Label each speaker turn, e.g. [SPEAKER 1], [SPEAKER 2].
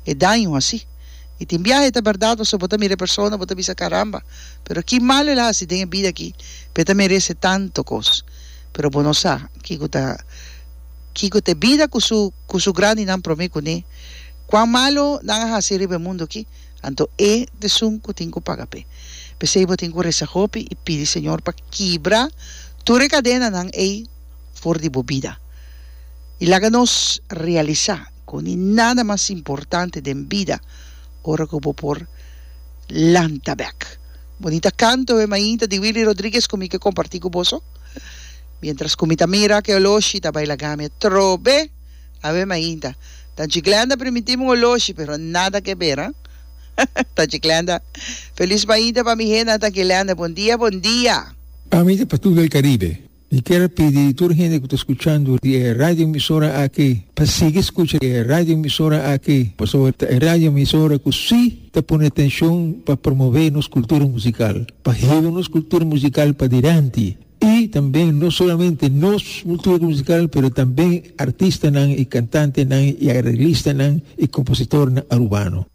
[SPEAKER 1] E daño hasi. I tin biaha e ta bèrdat pasobra bo ta mira e persona bo ta bisa karamba pero ki malu el a hasi den e bida aki pa e ta merese tantu kos. Pero bo no sa kiko ta kiko ta e bida ku su ku su grandinan promé kuné. Kuan malu nan a hasi riba e mundu aki anto e ta esun ku tin ku paga p'e. P'esei bo tin ku resa hopi i pidi Señor pa kibra tur e kadenanan ei for di bo bida. I laga nos realisá. Ku ni nada mas importante den bida ora ku bo por lanta bek. Bonita kanto e mainta di Willy Rodriguez ku mi ke kompartí ku boso. Mientras ku mi ta mira ku e oloshi ta bai laga mi atrobe awe mainta. Tanchi Glenda primintí mi un oloshi pero nada ke ber, ha. Tanchi Glenda, felis mainta pa mi hende Tanchi Glenda, bon dia, bon dia.
[SPEAKER 2] Ami ta Patul del Caribe. Mi kier a pidi tur hende ku ta skuchando di e radioemisora aki pa sigui skucha e radioemisora aki, pasobra ta e radioemisora ku sí ta pone atenshon pa promové nos kultura musikal, pa hiba nos kultura musikal padilanti i tambe no solamente nos kultura musikal pero tambe artistanan i kantantenan i areglistanan i kompositornan arubano.